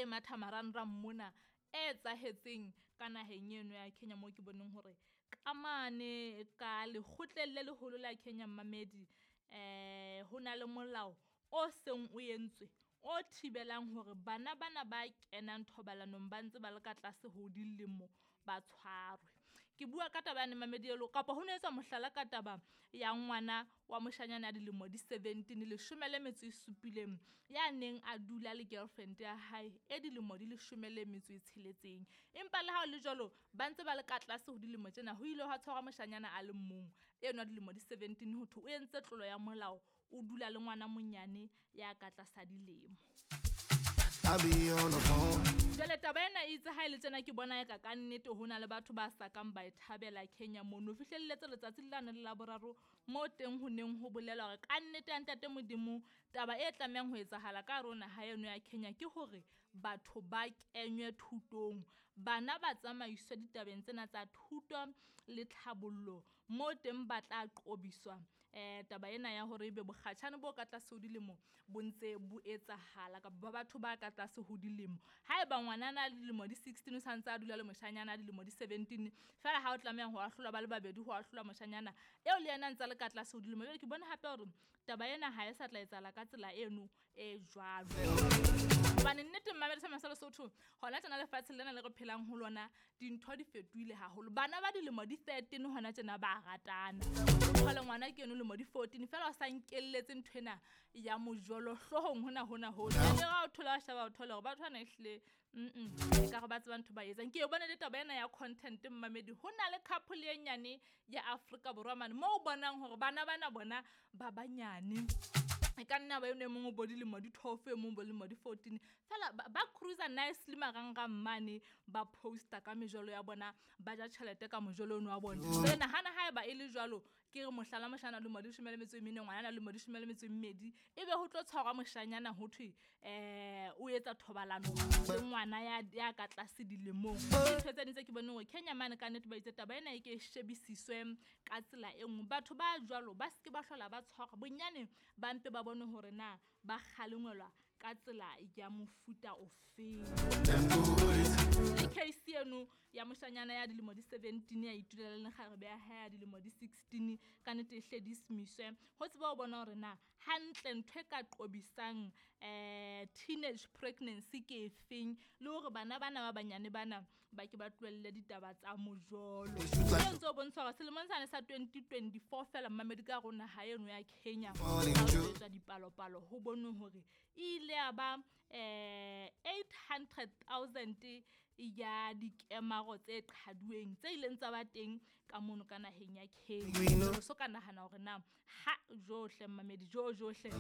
ntse e matha marangrang mona e etsahetseng ka naheng eno ya Kenya, moo ke boneng hore ka mane ka lekgotleng le leholo la Kenya mmamedi, ho na le molao o seng o entswe o thibelang hore bana bana ba kenang thobalanong ba ntse ba le ka tlase ho dilemo ba tshwarwe. Ke bua ka taba yane mamedi elo kapa ho no etswa mohlala ka taba ya ngwana wa moshanyana ya dilemo di 17, 17, ya neng a dula le girlfriend ya hae e dilemo di 16. Empa le ha ho le jwalo, ba ntse ba le ka tlase ho dilemo tsena, ho ile hwa tshwarwa moshanyana a le mong enwa dilemo di 17, ho thwe o entse tlolo ya molao, o dula le ngwana monyane ya ka tlasa dilemo. I be on the phone. Jwale taba ena e itse ha e le tjena ke bona eka ka nnete ho na le batho ba sa kang ba e thabela Kenya mono. Fihlelletse letsatsi lane le la boraro moo teng ho neng ho bolela hore ka nnete ya ntate Modimo taba e tlamehang ho etsahala ka hare ho naha eno ya Kenya ke hore batho ba kenywe thutong. Bana ba tsamaiswe ditabeng tsena tsa thuto le tlhabollo moo teng ba tla qobiswa taba ena ya hore ebe bokgatjhane bo ka tlase ho dilemo bo ntse bo etsahala kapa ba batho ba ka tlase ho dilemo. Haeba ngwanana a le dilemo di 16 o santse a dula le moshanyana a dilemo di 17, feela ha o tlameha ho ahlolwa ba le babedi, ho ahlolwa moshanyana eo le yena a ntse a le ka tlase ho dilemo. Jwale ke bona hape hore taba ena ha e sa tla etsahala ka tsela eno e jwalo. Hobane nnete mmamedi sa sa Lesotho, hona tjena lefatsheng lena le re phelang ho lona, dintho di fetohile haholo. Bana ba dilemo di 13 hona tjena ba ratana. Jwale ngwana ke eno lemo di 14 feela o sa nkelletse nthwena ya mojolo hloohong hona hona hona. Jwale ha o thola wa sheba o thole hore batho bana ehlile ekare ba tseba ntho ba etsang. Ke e bone le taba ena ya content mmamedi, ho na le couple e nyane ya Afrika Borwa mane moo o bonang hore bana bana bona ba banyane. E ka nna ba eno e mong o bo dilemo di 12, e mong bo dilemo di 14. Feela ba cruiser nicely marangrang mane, ba posta ka mejolo ya bona, ba ja tjhelete ka mojolo ono wa bona. Jwale nahana haeba e le jwalo, ke re mohlala moshanyana dilemo di 14, ngwanana dilemo di 12, ebe ho tlo tshwarwa moshanyana ho thwe o etsa thobalano le ngwana ya ka tlase dilemong. Ke ntho tse ding tse ke boneng hore Kenya mane ka nnete ba itse taba ena e ke e shebisiswe ka tsela e nngwe. Batho ba jwalo ba seke ba hlola ba tshwarwa, bonyane ba mpe ba bone hore na ba kgalengwelwa ka tsela ya mofuta ofeng. Le case eno ya moshanyana ya dilemo di 17 ya itulela le kgarebe ya hae ya dilemo di 16, ka nnete e hle dismisswe. Ho tseba ho bona hore na hantle ntho e ka qobisang teenage pregnancy ke efeng, le hore bana bana ba banyane bana ba ke ba tlohelle ditaba tsa mojolo. O ntso bontsha hore selemong sane sa 2024 feela mmamedi ka hare ho naha eno ya Kenya, ha ho etswa dipalopalo ho bonwe hore e ile ya ba 800,000 ya dikemaro tse qhaduweng tse ileng tsa ba teng ka mono ka naheng ya Kenya. So ka nahana hore na ha johle mmamedi jo johle.